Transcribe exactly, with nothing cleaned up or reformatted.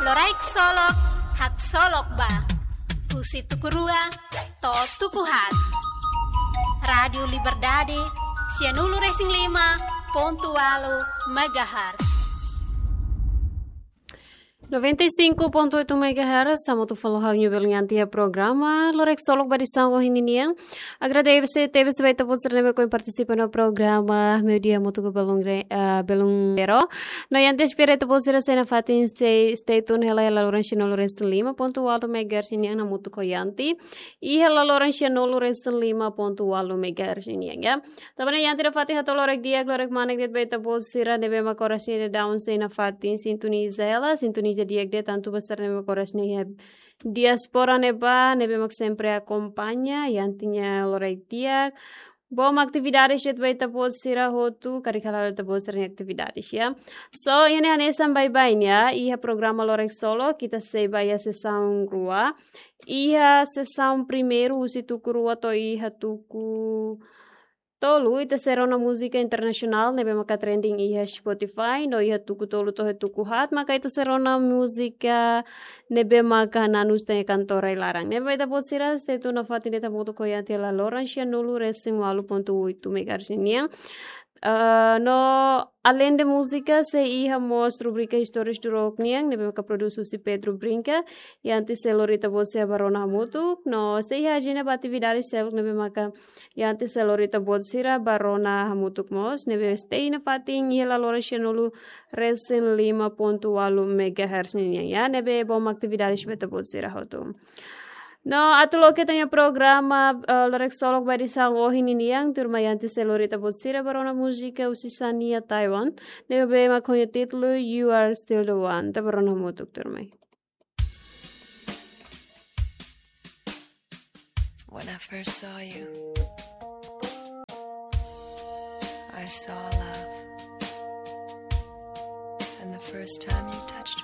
Loraik Solok, haksolok ba. Husi tuku rua to'o tuku haat. Rádiu Liberdade, sianulu-resin-lima pontu ualu megahertz. Noventa e cinco ponto oito megahertz, hamutuk fali ho ha'u-nia belun Yanti iha programa Loraik Solok ba edisaun ohin nian. Agradese tebes ba ita-boot sira ne'ebé ohin partisipa iha programa Meiudia hamutuk ho belun Re-, ah, belun Pero. No Yanti espera ita-boot sira sei nafatin stay, stay tune hela iha laloran sianulu-resin-lima pontu ualu megahertz nian hamutuk ho Yanti. Iha laloran sianulu-resin-lima pontu ualu megahertz nian, ya. Tanba ne'e Yanti nafatin hato'o loraik di'ak, loraik manek de'it ba ita-boot sira ne'ebé mak oras ne'e daudaun sei nafatin sintoniza hela, sintoniza di'ak de'it tantu ba sira ne'ebé mak oras ne'e iha diáspora ne'ebá, ne'ebé mak sempre akompaña Yanti nia loraik di'ak. Boot mak atividades de'it ba ita-boot sira hotu, karik hala'o ita-boot sira-nia atividades, ya. So, iha ne'e hanesan baibain, ya, iha programa Loraik Solok, ita sei ba iha sesaun rua. Iha sesaun primeiru, husi tuku rua to'o iha tuku tolu, ita sei rona múzika internasionál ne'ebé maka trending iha Spotify, no iha tuku tolu to'o tuku haat maka ita sei rona múzika ne'ebé maka nanus tan iha kantor rai-laran. Ne'ebé ita-boot sira stay tune nafatin de'it hamutuk ho Yanti iha laloran sianulu-resin-ualu pontu oito megahertz nian. Ah, no além de múzika, sei iha mós rubrika Istórias do Rock nian, ne'ebé maka produs husi Pedro Brinca, Yanti sei lori ita-boot sira ba rona hamutuk, no sei iha ajenda ba atividades seluk ne'ebé maka Yanti sei lori ita-boot sira ba rona hamutuk mós, ne'ebé stay nafatin iha laloran sianulu-resin-lima pontu ualu megahertz nian, ya, ne'ebé boot mak atividades ba ita-boot sira hotu. No, atu loke ita-nia programa, eh, Loraik Solok ba edisaun ohin nian, tuirmai Yanti sei lori ita-boot sira ba rona múzika husi Shania Twain, ne'ebé mak ho nia títulu You Are Still the One, ita ba rona hamutuk, tuirmai. When I first saw you, I saw love. And the first time you touched